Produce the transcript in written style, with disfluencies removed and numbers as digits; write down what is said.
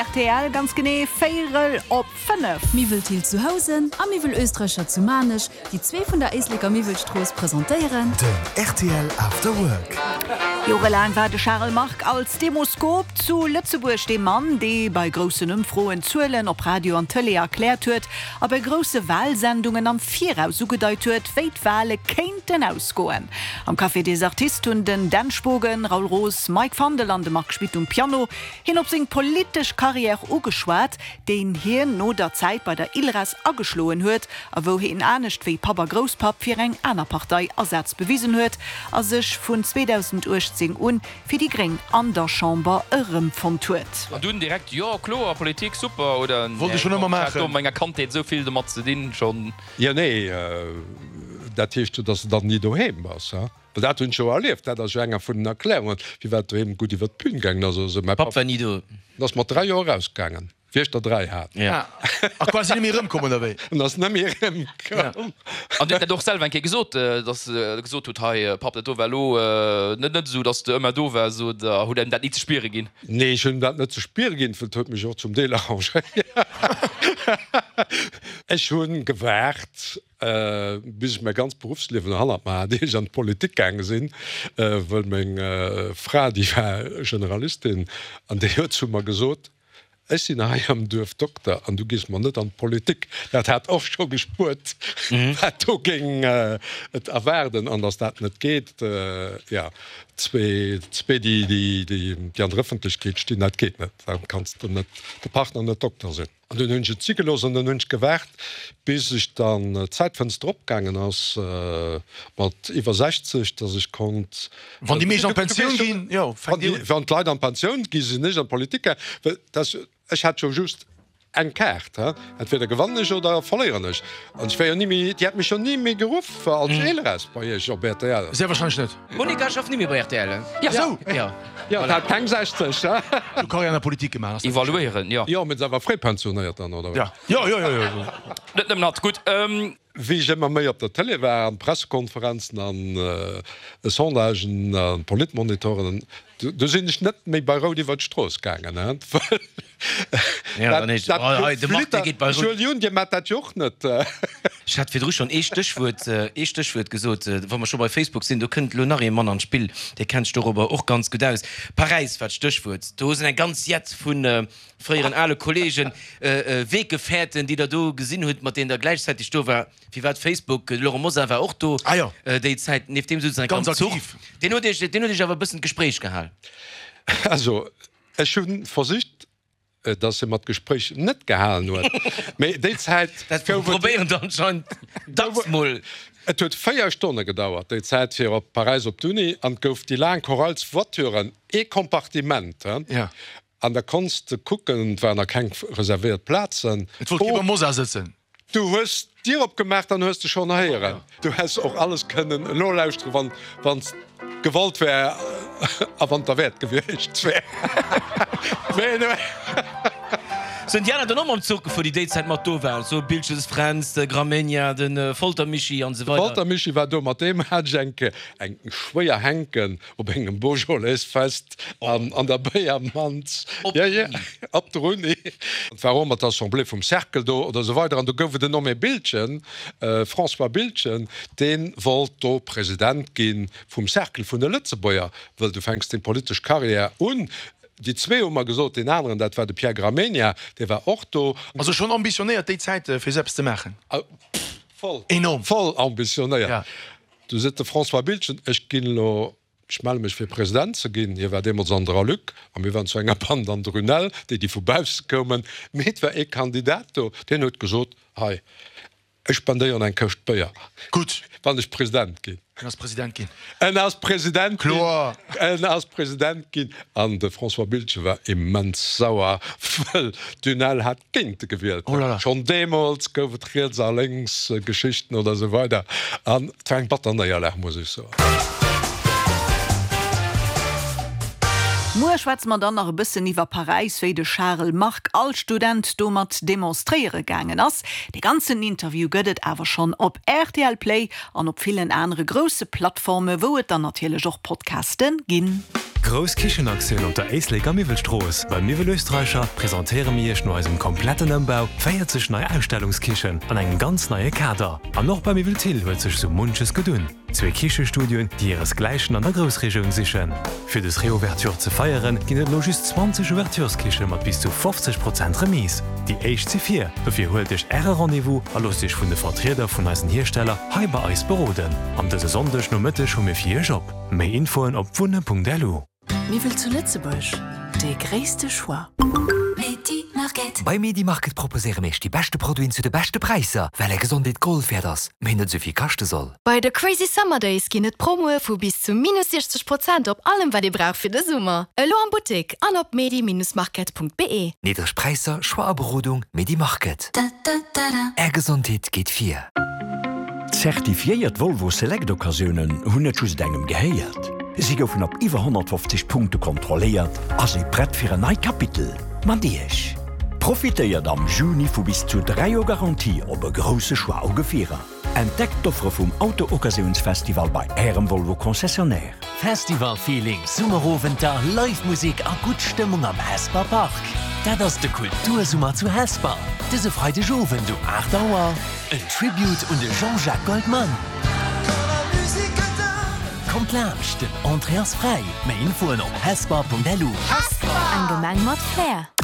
Rtl, ganz genee véierel op 5. Miwwel Thill zu Housen a Miwwel Oestreicher zu Maarnech, déi zwee vun der Éisleker Miwwelstrooss presentéieren. Den rtl After Work. Jorelaang war de Charel Margue als Demoskop zu Lëtzebuerg dee Mann, dee bei groussen Ëmfroen d'Zuelen op Radio an Tëlee erkläert huet a bei grousse Walsendungen am Viraus ugedeit huet, wéi d'Wale kéinten ausgoen. Am Café des Artistes hunn den Dan Spogen, Raoul Roos, Mike Fandel an de Marc Schmitt um Piano Hien op seng politesch Karriär ugeschwat, déi hien no der Zäit bei der ILRES ageschloen huet a wou hien anescht wéi Papp a Grousspapp fir eng aner Partei Asaz bewisen huet a sech vun 2018 un fir déi Gréng an der Chamber erëmfonnt huet. An dunn direkt, jo kloer, Politik super, oder? Wollt ech schon ëmmer maachen. Ech hat do a menger Kandheet esou vill domat ze dinn schon. Jo, nee, dat heescht jo, dass de dann ni doheem bass, he? Well dat hunn ech jo erlieft, dat ass jo enger vun den Erklärungen, firwat doheem gutt iwwer d'Bün gaangen ass. Also mäi Papp war ni do. En ass mat 3 Joer erausgaangen, wéi ech der 3 hat. A quasi net méi erëmkomm, oder wéi? En ass net méi erëmkomm. An Dir hutt dat och selwer eng Kéier gesot, datt Der gesot hutt, Hei Papp, dat do war elo net net esou, datt s de ëmmer do waars, oder hutt engem dat ni ze spiere ginn? Nee, ech hunn em dat net ze spiere ginn, well et huet mech och zum Deel arrangéiert. Ech hu gewaart, Bis ech mäi ganzt Beruffsliewen hannert mer hat, ier ech an d'Politik gaange sinn, wëll meng Fra, déi war Generalistin, an déi huet zu mer gesot, Ech sinn hei am Duerf Dokter an du gees mer net an d'Politik. Dat hat och scho gespuert, wat do géing et erwaarden an datt dat net geet. Jo, zwee, déi an der Ëffentlechkeet stinn, dat geet net. Da kanns de net, de Partner net Dokter sinn. An dunn hunn ech et si gelooss an dann hunn ech gewaart, bis ech dann d'Zäitfënster opgaangen ass mat iwwer 60, dass ech konnt. Wann déi meescht an d'Pensioun ginn, jo, fänkt Dir un. Wann d'Leit an d'Pensioun gi sinn ech an d'Politik gaangen, well dass ech hat jo just eng Kaart, he, entweder gewannen ech oder verléieren ech. An ech wär jo ni méi, Dir hätt mech jo ni méi geruff als Eelres bei Iech op rtl. Sehr wahrscheinlech net. D'Monica schafft ni méi bei rtl. Ja, sou! Jo. Jo, dat hat keng 60, he? Du Karriär an der Politik gemaach, ass dat richtig? Evaluéieren, jo. Jo, mee se war fréi pensionéiert dann, oder wéi? Ja. Jo, jo, jo, jo. Net nëmmen hatt. Gutt. Wéi ech ëmmer méi op der Télé war, an Pressekonferenzen an Sondagen an Politmonitoren, du sinn ech net méi bei Rout iwwer d'Strooss gaangen, he? Well dat flittert. Jules, Dir maacht dat jo och net. Ech hat virdru schonn ee Stéchwuert, ee Stéchwuert gesot, wa mer scho bei Facebook sinn, do kënnt elo nach ee Mann an d'Spill, dee kennt sech dorobber och ganz gutt aus. Paräis war d'Stéchwuert. Do sinn eng ganz Jett vu fréieren ale Kollegen, Weggefährten, déi Der do gesinn hutt, mat deenen Der gläichzäiteg do war. Firwat Facebook? De Laurent Mosar war och do déi Zäit, nieft deem souzen eng ganz Zuch. Deen huet Iech, deen huet Iech awer e bëssen d'Gespréich gehal. Also, ech hu versicht, dass hie mer d'Gespréich net gehalen huet, mee déi Zäit Dat gouf et. Probéieren der anscheinend dacks mol. Et huet 4 Stonne gedauert déi Zäit fir op Paräis op d'Uni an et gouf déi laang Chorals Voituren, ee Kompartiment, an da konns de kucken, et waren nach keng reservéiert Plazen. Et wollt kee beim Mosar sëtzen. Du hues d'Dier opgemaach, dann hues de schonn héieren. Du häss och alles kënnen nolauschteren, wann wann s gewollt wär a wann derwäert gewiescht wär. Mee nu. Sinn déi aner dann och mam Zuch gefuer, déi déi Zäit mat do waren? Sou Bilches Fränz, de Gramegna, de Folter Michi an esou weider. De Folter Michi war do, mat deem hat ech eng Kéier eng schwéier Hänken Op engem Beaujolais-Fest an der Béiermanz. Op der Uni. Op der Uni. Et war och ëmmer d'Assemblée vum Cercle do oder esou weider. An do gouf et en nommé Biltgen, François Biltgen, dee wollt do President gi vum Cercle vun de Lëtzebuerger, wëll du fänks deng politesch Carrière un. Déi zwee hu mer gesot, deen aneren, dat war de Pierre Gramegna, dee war och do. Also schonn ambitionéiert déi Zäit, fir esou eppes ze maachen? Voll. Enorm. Voll ambitionéiert. Du seet de François Biltgen, ech ginn elo, ech melle mech fir President ze ginn. Hie war deemools an der Aluc a mir waren zu enger Band an der Runel, déi déi vu bausse koumen. Mee et war ee Kandidat do, deen huet gesot, hei, ech spendéieren eng Këscht Béier, Gutt. wann ech President ginn. En ass President ginn. En ass President ginn. Kloer. En ass President ginn. An de François Biltgen war immens sauer, wëll d'UNEL hat géint e gewielt. Oh là là. Schonn deemools gouf et riets a lénks Geschichten oder esou weider. An et war eng batter Néierlag, muss ech soen. Muer schwätze mer dann nach e bëssen iwwer Paräis, wéi de Charel Margue als Student do mat demonstréiere gaangen ass. De ganzen Interview gëtt et awer schonn op rtl Play an op villen anere grousse Plattforme wou et dann natierlech och Podcaste ginn. Grouss Kichenaktioun op der Éisleker Miwwelstrooss! Bei Miwwel Österreicher presentéiere mir Iech no eisem kompletten Ëmbau 40 nei Ausstellungskichen an engem ganz neie Kader. An och bei Miwwel Thill huet sech sou munches gedunn. Zwee Kichestudioen, déi hiresgläichen an der Groussregioun sichen. Fir des Reouverture ze feieren, ginn et elo just 20 Ouvertureskiche mat bis zu 50 Prozent Remise. Déi éischt si vir, dofir huelt Iech Äre Rendez-vous a loosst Iech vun de Vertrieder vun eisen Hiersteller hei bei eis beroden. An dëse Sonndeg Nomëtteg hu mir fir Iech op. Méi Infoen op wunne.lu. Miwwel zu Lëtzebuerg, dee gréisste Choix. Bei Medimarket proposéiere mir iech déi beschte Produiten zu de beschte Präisser, well är Gesondheet Gold wäert ass, mee net esou vill kaschte soll. Bei de Crazy Summer Days ginn et Promoe vu bis zu minus 60 Prozent op allem wat ee brauch fir de Summer. Elo am Buttek an op medi-market.be. Niddreg Präisser, Choix a Berodung, Medimarket. Är Gesondheet geet vir. Zertifiéiert Volvo Select Occasiounen hunn net just engem gehéiert. Si goufen op iwwer 150 Punkte kontrolléiert a si prett fir en neit Kapitel mat Iech. Profitéiert am Juni vu bis zu 3 Joer Garantie op e grousse Choix u Gefierer. Entdeckt d'Offere vum Auto-Occasiounsfestival bei Ärem Volvo Concessionnaire. Festival-Feeling, Summerowenter, Live Musek a gutt Stëmmung am Hesper Park. Dat ass de Kultursummer zu Hesper, dëse Freideg Owend um 8 Auer. En Tribute un de Jean-Jacques Goldman. Kommt laanscht, den Entrée ass fräi. Méi Infoen op hesper.lu. Eng Gemeng mat Flair.